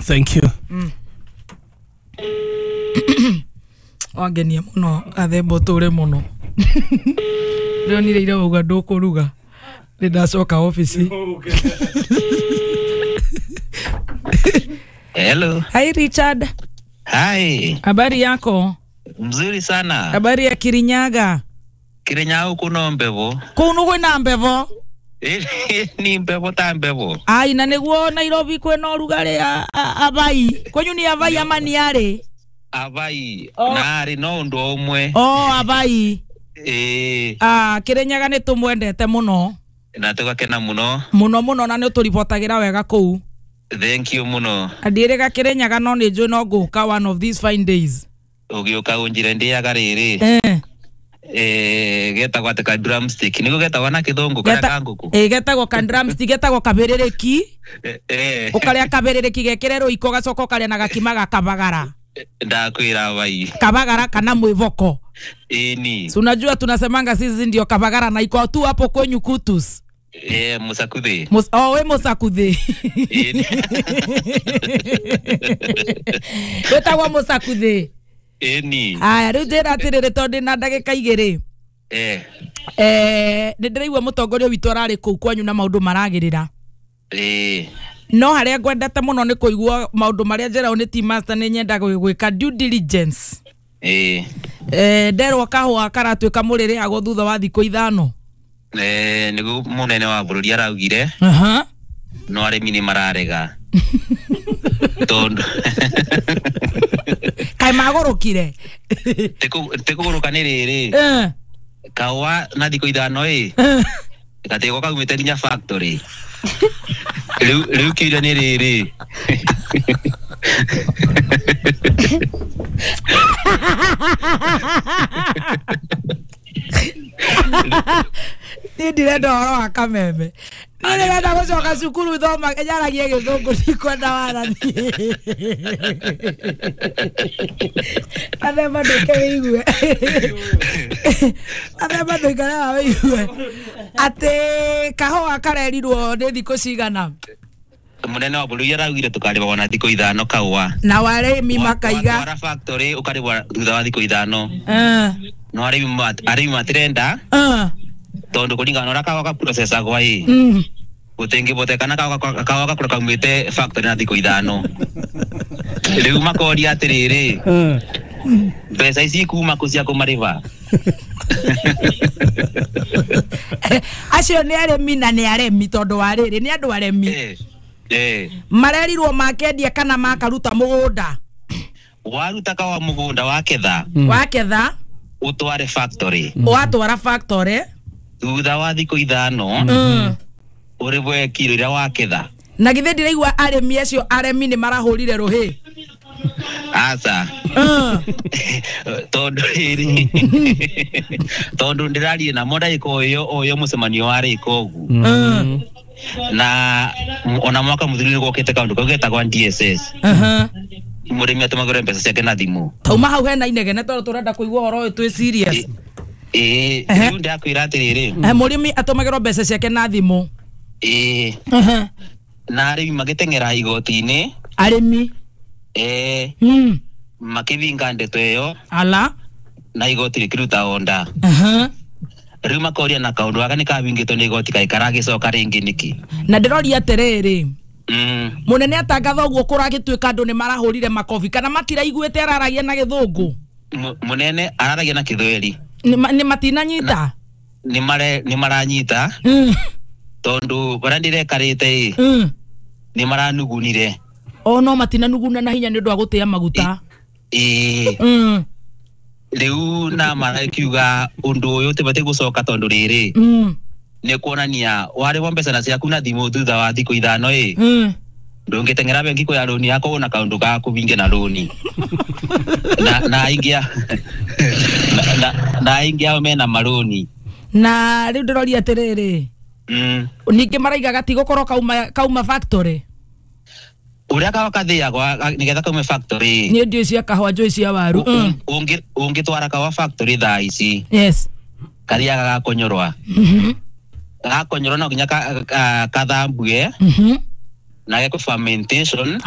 Thank you. Wangenia muno athemba ũtũre mũno. Ndĩronire ira wauga ndũkũruga. Nĩ ndacoka ofici. Hello. Hi Richard. Hi. Habari yako? Mzuri sana. Habari ya Kirinyaga? Kirinyaga huku no mbevo. Kũu nĩ kwĩna mbevo? Ni mbevo ta mbevo. Ai, na nĩguo Nairobi kwĩna ũrugarĩ abai. Kwenyu ni abai ama ni arĩ? Abai. Oh. Na arĩ no ũndũ ũmwe. Oh, abai. Eh. Ah, Kirinyaga nĩ tũmwendete mũno. Na tũgakena mũno. Mũno mũno na nĩ ũtũribotagĩra wega kũu. Thank you mũno. Ndiĩrĩga Kirinyaga no nĩ njũĩ no ngũka one of these fine days. Ũgĩũka ũnjĩre ndĩaga rĩrĩ. Eh. Eh, getagwo atĩ ka drumstick. Nĩguo getagwo na kĩthũngũ karĩa ka ngũkũ. Eh, getagwo ka drumstick, getagwo kabĩrĩrĩki. Eh. Ũkarĩa kabĩrĩrĩki gekĩre rũiko gacoka ũkarĩa na gakima ga kabagara. Ndakwĩra bai. Kabagara kana mwĩvoko. Ĩni. Si unajua tunasemanga sisi ndio kabagara na iko tu hapo kwenyu Kutus. Eh, Musakuthi. Oh, we Musakuthi. Ĩni. Wetagwo Musakuthi. Ĩni. Aya, rĩu njĩra atĩrĩrĩ tondũ ndĩna ndagĩka igĩrĩ. Eh. Eh, nĩ ndĩraigua mũtongoria witũ ararĩ kũu kwanyu na maũndũ maragĩrĩra. Eh. No harĩa ngwendete mũno nĩ kũigua maũndũ marĩa njĩragwo nĩ team master nĩ nyendaga gwĩka due diligence. Eh. Eh, nderwo kahũa karatuĩka mũrĩrĩhagwo thutha wa thikũ ithano. Eh, nĩguo mũnene wa bũrũri araugire. Aha. No arĩmi nĩ mararega. Tondũ kaĩ magũrũkire. Tĩkũgũrũka nĩ rĩrĩ. Eh. Kahũa na thikũ ithano ĩ. Gatigwo kaumĩte nginya factory. Rĩu kĩũria nĩ rĩrĩ. Niĩ ndirenda ũhoro wa kameme. Niĩ ndĩrenda gũcoka cukuru thoma njaragie gĩthũngũ ndikwenda wara niĩ. Athemba ndũke wĩigue. Athemba ndũikare haha wĩigue. Atĩ kahũa karerirwo nĩ thikũ cigana? Mũnene wa bũrũri araugire tũkarĩhagwo na thikũ ithano kahũa. Na warĩmi makaiga. Watwara factory ũkarĩhwo thutha wa thikũ ithano. Eh. No arĩmi matirenda. Eh. Tondũ kũringana na ũrĩa kahũa gaprocessagwo ĩ. Gũtingĩhotekana kahũa gakorwo kaumĩte factory na thikũ ithano. Rĩu makoria atĩrĩrĩ. Mbeca ici kuma kũ cia kũmarĩha? Acio nĩ arĩmi na nĩ aremi tondũ wa rĩrĩ nĩ andũ aremi. Eh. Marerirwo makendia kana makaruta mũgũnda. Waruta kahũa mũgũnda waketha. Waketha. Ũtware factory. Watwara factory. Thutha wa thikũ ithano. Ũrĩhwe kiro iria waketha. Na githĩ ndiraigua arĩmi acio aremi nĩ marahũrire rũhĩ. Aca. Tondũ rĩrĩ. Tondũ ndĩrarie namo ndagĩka o ĩyo o ĩyo mũcemanio warĩka ũguo. Na ona mwaka mũthiru nĩ gwokĩte kaũndũ kau getagwo DSS. Mũrĩmi atũmagĩrwo mbeca ciake na thimũ. Tauma hau hena inegene tondũ tũrenda kũigua ũhoro ũyũ twĩ serious. Ĩĩ, rĩu ndakwĩra atĩrĩrĩ. Mũrĩmi atũmagĩrwo mbeca ciake na thimũ. Ĩĩ. Na arĩmi magĩteng'era igoti-inĩ. Arĩmi. Eh. Makĩbinga ndeto ĩyo. Ala. Na igoti rĩkĩruta onda. Rĩu makoria na kaũndũ gaka nĩ kabingĩtwo nĩ igoti kaĩ karagĩcoka rĩngĩ nĩkĩ? Na ndĩroria atĩrĩrĩ. Mũnene atangatha ũguo kũragĩtuĩka andũ nĩ marahũrire makobi kana matiraiguĩte araragia na gĩthũngũ? Mũnene araragia na gĩthweri. Nĩ matinanyita? Nĩ maranyita. Tondũ barĩa ndĩrekarĩte ĩ. Nĩ maranugunire. O no matinanuguna na hinya nĩ ũndũ wa gũtĩa maguta. Ĩĩ. Rĩu na marakiuga ũndũ ũyũ ũtibatiĩ gũcoka tondũ rĩrĩ. Nĩ kuonania warĩhwo mbeca na ciaku na thimũ thutha wa thikũ ithano ĩ. Ndũngĩteng'era bengi kuoya rũni yaku na kaũndũ ga kũbinge na rũni. Na aingĩ na aingĩ ao mena marũni. Na rĩu ndĩroria atĩrĩrĩ. Ningĩ maraiga gatigũkorwo kauma factory. Ũrĩa kahũa kathĩagwo nĩgetha kaume factory. Niĩ ndiũĩ cia kahũa njũĩ cia waru. Ũngĩtwara kahũa factory thaa ici. Yes. Kathiaga gakonyorwa. Gakonyorwa no nginya kathambue. Na geko fermentation.